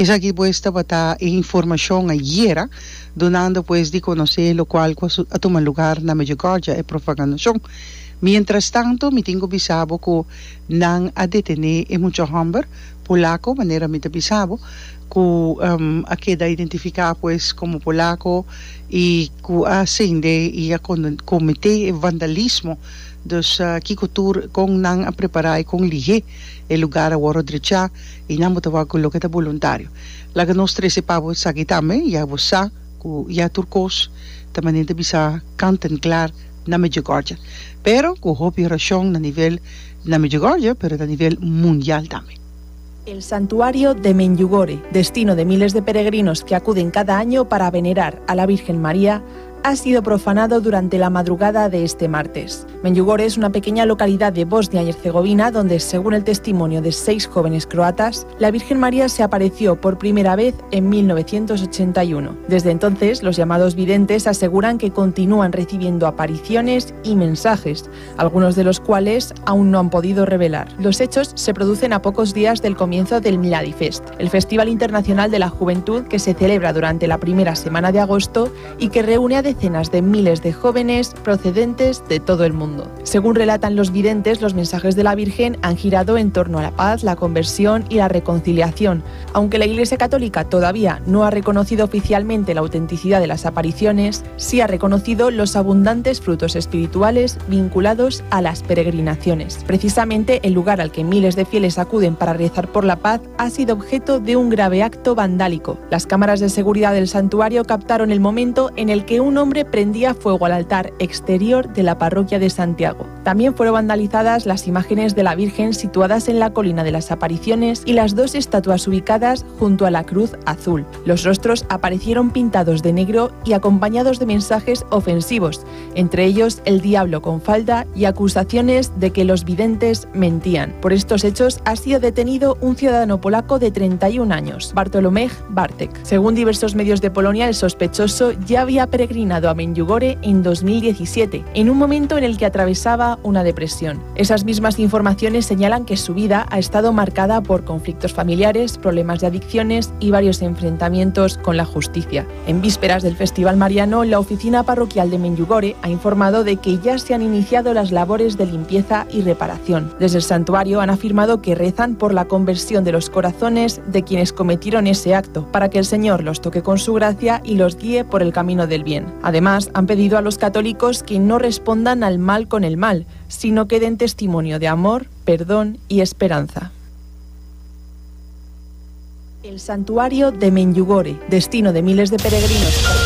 Esaki pues tabata e informacion ayera, dunando pues di conoce locual cu a tuma lugar na Medjugorje, e profanacion. Mientras tanto mi tin cu bisa bo cu nan a detene e mucha homber polaco, manera mi ta bisa bo, cu a keda identifica pues como polaco y cu a sende y a comete e vandalismo. Dus kico tur con nan a prepara y con lihe e lugar a worde drecha y nan bo ta wak cu loke ta boluntario. Laga nos trece pa bo esaki tambe, ya bo sa cu ya tur cos ta manera ta bisa kant en klaar na Medjugorje. Pero cu hopi oracion na nivel na Medjugorje pero na nivel mundial tambe. El santuario de Medjugorje, destino de miles de peregrinos que acuden cada año para venerar a la Virgen María, ha sido profanado durante la madrugada de este martes. Medjugorje es una pequeña localidad de Bosnia y Herzegovina donde, según el testimonio de seis jóvenes croatas, la Virgen María se apareció por primera vez en 1981. Desde entonces, los llamados videntes aseguran que continúan recibiendo apariciones y mensajes, algunos de los cuales aún no han podido revelar. Los hechos se producen a pocos días del comienzo del Mladifest, el Festival Internacional de la Juventud que se celebra durante la primera semana de agosto y que reúne a decenas de miles de jóvenes procedentes de todo el mundo. Según relatan los videntes, los mensajes de la Virgen han girado en torno a la paz, la conversión y la reconciliación. Aunque la Iglesia Católica todavía no ha reconocido oficialmente la autenticidad de las apariciones, sí ha reconocido los abundantes frutos espirituales vinculados a las peregrinaciones. Precisamente el lugar al que miles de fieles acuden para rezar por la paz ha sido objeto de un grave acto vandálico. Las cámaras de seguridad del santuario captaron el momento en el que un hombre prendía fuego al altar exterior de la parroquia de Santiago. También fueron vandalizadas las imágenes de la Virgen situadas en la colina de las apariciones y las dos estatuas ubicadas junto a la cruz azul. Los rostros aparecieron pintados de negro y acompañados de mensajes ofensivos, entre ellos el diablo con falda y acusaciones de que los videntes mentían. Por estos hechos ha sido detenido un ciudadano polaco de 31 años, Bartolomej Bartek. Según diversos medios de Polonia, el sospechoso ya había peregrinado a Medjugorje en 2017, en un momento en el que atravesaba una depresión. Esas mismas informaciones señalan que su vida ha estado marcada por conflictos familiares, problemas de adicciones y varios enfrentamientos con la justicia. En vísperas del Festival Mariano, la oficina parroquial de Medjugorje ha informado de que ya se han iniciado las labores de limpieza y reparación. Desde el santuario han afirmado que rezan por la conversión de los corazones de quienes cometieron ese acto, para que el Señor los toque con su gracia y los guíe por el camino del bien. Además, han pedido a los católicos que no respondan al mal con el mal, sino que den testimonio de amor, perdón y esperanza. El santuario de Medjugorje, destino de miles de peregrinos.